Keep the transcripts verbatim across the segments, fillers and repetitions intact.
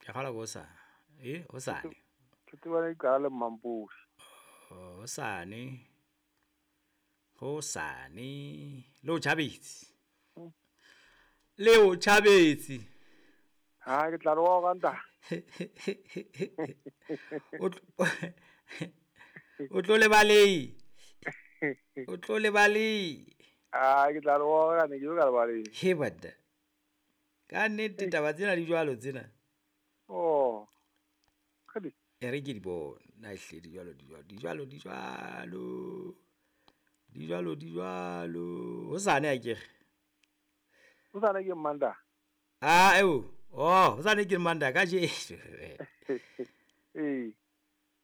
Ke kgolwa ke hosane. E, hosane. Thotobana di qala le Mmampodi. Hosane. Hosane. Le o tjhabetse. Mm. Le o tjhabetse. Ha ke tla re wa ranta. O tlo o tlo lebalei. O tlo lebalei. Ah, ke tla re wa ranta ke ka lebalei. He bada. Ka nnete taba tsena di jwalo tsena. Oh. Kgadi. E re ke di bone. Na ehlile di jwalo di jwalo di jwalo di jwalo. Di jwalo di jwalo. Hosane akere. Hosane ke Manda. Ah, eo. Oh, hosane ke Manda ka je. Eh.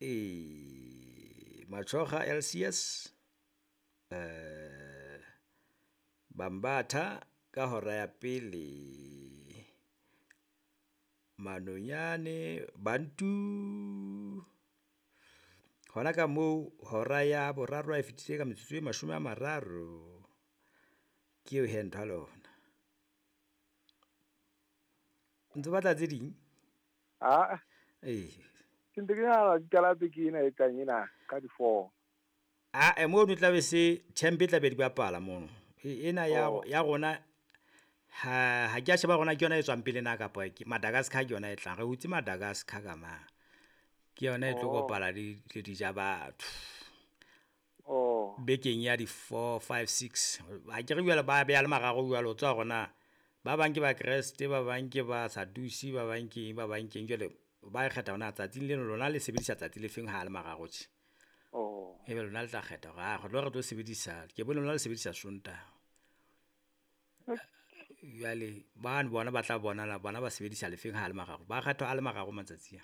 Eh, Matshoga L C S. Eh, Bambatha ka hora ya pele. Manonyane Bantu. Hona ka moo hora ya boraro e fetile ka metsotso e mashome a mararo. Ke eo he ntho ya lona. Ntse batla tse ding? Ah. Eh. Ke ntse ke nahana di qala beke ena e tlang ena ka di four. Ah, e mono tla be se champ e tla be di bapala mono. E ena ya Oh. ya rona ha ha ke a sheba rona ke yona e tswang pele na kapa ke Madagascar ke yona e tlang. Re hutse Madagascar ka ma. Ke yona e tlo Oh. kopala le le dija batho. Oh. Bekeng ya di four, five, six. Ha ke re jwale ba beha le mararo jwale o tswa rona. Ba bang ke ba Kreste, ba bang ke ba Sadusi, ba bang ke eng, ba bang ke eng. Jwale ba kgetha hona tsatsing leno lona le sebedisa tsatsi le feng ha le mararo tje. Oh. Ebe lona le tla kgetha hore, ah, re tlo re tlo sebedisa, ke bone lona le sebedisa Sontaha. Jwale bano bona ba tla bona la bona ba sebedisa lefeng ha le mararo. Ba kgetha a le mararo matsatsi a.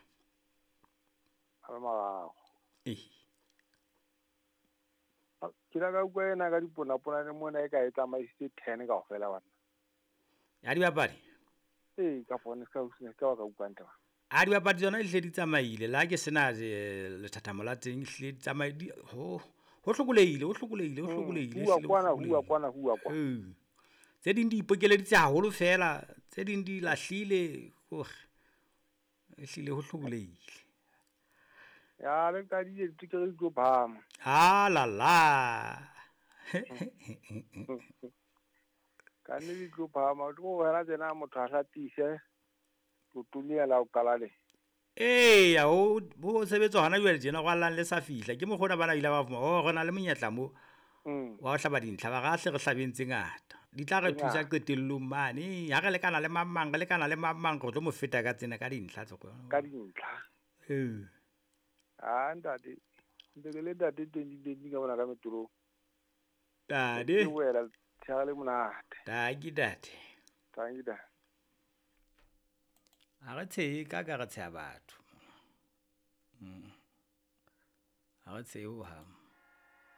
A le mararo. Eh. Ke la ka utlwa ena ka diponapona mona e ka e tsamaisitse ten kaofela bana. Ya dibapadi? Ee, ka phone ska o sena ka wa ka utlwa ntle ba. A dibapadi tsona di hle di tsamaile. La ke sena, eh, lethathamo la teng, hle di tsamaile, di, ho, ho hlokolehile, ho hlokolehile, ho Mm, hlokolehile, huwa ehlile ho kwana, huwa hlokolehile. kwana, huwa kwana. Ee. Tse ding di ipokeleditse haholo fela, tse ding di lahlile, hore ehlile ho hlokolehile. Ya, le qadile ditekere di tlo phahama. Ah, la, la. Ka nnete di tlo phahama, o tlo wena tsena motho a hlatise, o tlo la o qala le. Eya, ho, ho sebetswa hona jwale tjena, rwallang le sa fihla. Ke mokgwa ona bana ile ba fumana, oh, re na le monyetla mo. Mm. Wa ho hlaba dintlha, ba re hle re hlabeng tse ngata. Di tla re Tse thusa ngata. qetellong mane. Ha re lekana le mang mang, re lekana le mang mang, re tlo mo feta ka tsena, ka dintlha tse kgolo. Ka dintlha. Ee. Ah, ntate. Ntse ke le ntate twenty twenty ka mona ka metorong. Ntate. Ke wela tshehare le monate. Tanki, ntate. Tanki, ntate. Ha re tshehe ka ka re tsheha batho. Mm. Ha re tshehe hohang.